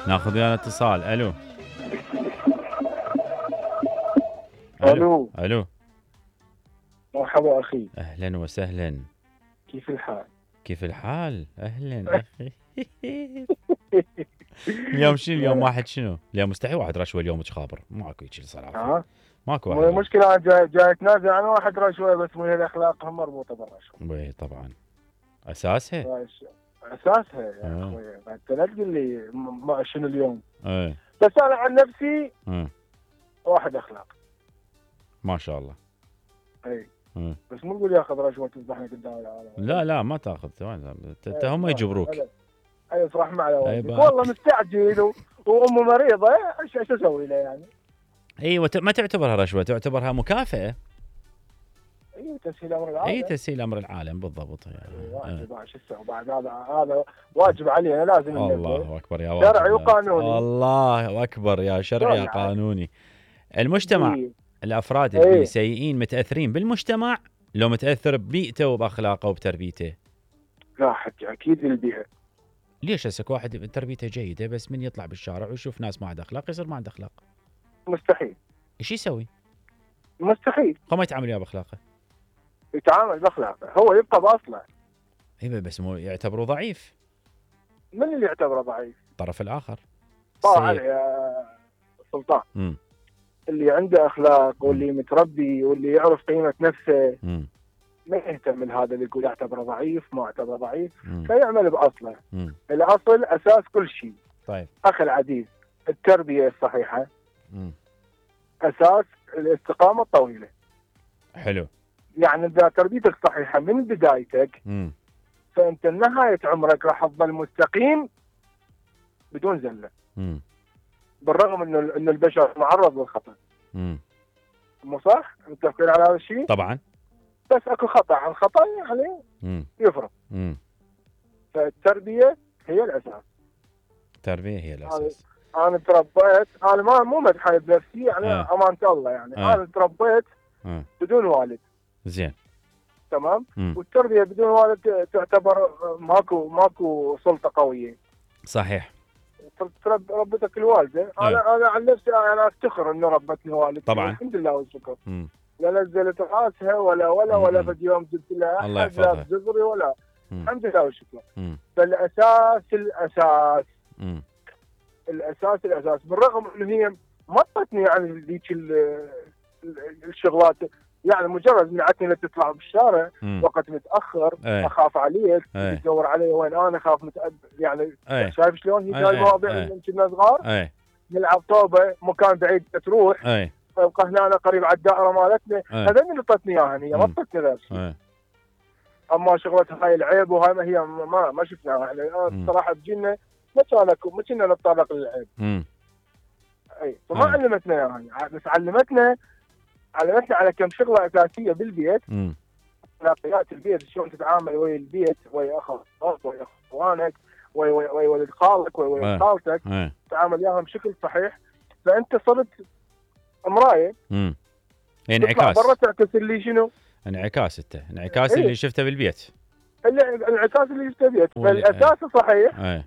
ناخذ ويانا اتصال. الو الو الو مرحبا اخي. اهلا وسهلا. كيف الحال؟ كيف الحال؟ اهلا اخي. اليوم شنو؟ اليوم واحد شنو؟ اليوم مستحي واحد رشوه اليوم خابر. ماكو هيك صراحه. ماكو واحد. المشكله جاي اتنازل عن واحد رشوه بس مو هي الاخلاق مربوطه بالرشوه. اي طبعا اساسها. اساسها يا اخوي. انت لا تقول لي شنو اليوم. ايه بس انا عن نفسي واحد اخلاق ما شاء الله. اي بس مو تقول ياخذ رشوه تذبحني قدام العالم. لا ما تاخذ. هم يجبروك. اي اصرح مع والدك والله مستعجل وامه مريضه. ايش اسوي له يعني؟ ايوه ما تعتبرها رشوه، تعتبرها مكافاه. اي تسهيل امر العالم. اي تسهيل امر العالم بالضبط يعني. واجب شو اسوي بعد؟ هذا واجب علينا لازم. الله اكبر يا واجب. شرعي وقانوني. الله اكبر يا شرعي يا قانوني. المجتمع الافراد اللي سيئين متاثرين بالمجتمع لو متاثر ببيئته وباخلاقه وبتربيته؟ لا حكي اكيد البيئه. ليش هسه واحد تربيته جيده بس من يطلع بالشارع ويشوف ناس ما عندها اخلاق يصير ما عنده اخلاق؟ مستحيل. ايش يسوي؟ مستحيل. هو ما يتعامل وياه باخلاقه. يتعامل باخلاقه، هو يبقى باصله. اي بس مو يعتبره ضعيف. من اللي يعتبره ضعيف؟ الطرف الاخر. طبعا يا سلطان. اللي عنده اخلاق واللي متربي واللي يعرف قيمه نفسه ما يهتم من هذا اللي يقول اعتبره ضعيف ما اعتبره ضعيف. فيعمل باصله. الاصل اساس كل شيء. طيب اخي العزيز، التربيه الصحيحه اساس الاستقامه الطويله. حلو. يعني اذا تربيتك صحيحه من بدايتك فانت نهايه عمرك راح تظل مستقيم بدون زله. بالرغم انه البشر معرض للخطا. مو صح؟ متفقين على هذا الشيء؟ طبعا. بس اكو خطا عن خطا يعني يفرق. فالتربيه هي الاساس. التربيه هي الاساس. انا تربيت، انا مو مدحي بنفسي يعني امانه الله يعني. انا تربيت بدون والد. زين. تمام. والتربيه بدون والد تعتبر ماكو سلطه قويه. صحيح. ربتك الوالده. انا عن نفسي انا افتخر انه ربتني والدتي طبعا الحمد لله والشكر. لا نزلت راسها ولا في يوم جبت لها الله يحفظها بزغري ولا. الحمد لله والشكر. فالاساس الاساس بالرغم انه هي ما اعطتني يعني ذيك الشغلات. يعني مجرد منعتني تطلع بالشارع وقت متاخر. اخاف عليك تدور علي وين انا اخاف يعني شايف شلون هي جاي مواضيع كنا صغار. نلعب طوبه مكان بعيد تروح تبقى هنا أنا قريب على الدائره مالتنا. هذا اللي اعطتني اياها هي ما اعطتني غير شيء. اما شغلتها هاي العيب وهاي ما هي ما شفناها يعني. الصراحه بجينا ما كنا نتطرق للعيب. اي فما علمتنا يعني. بس علمتنا على كم شغله اساسيه بالبيت. اخلاقيات البيت، شلون تتعامل ويا البيت ويا اخوك ويا اخوانك ويا ولد خالك ويا خالتك. تتعامل وياهم بشكل صحيح. فانت صرت مرايه. انعكاس. برا تعكس اللي شنو؟ انعكاس اللي شفته بالبيت. الانعكاس اللي شفته بالبيت. فالاساس صحيح.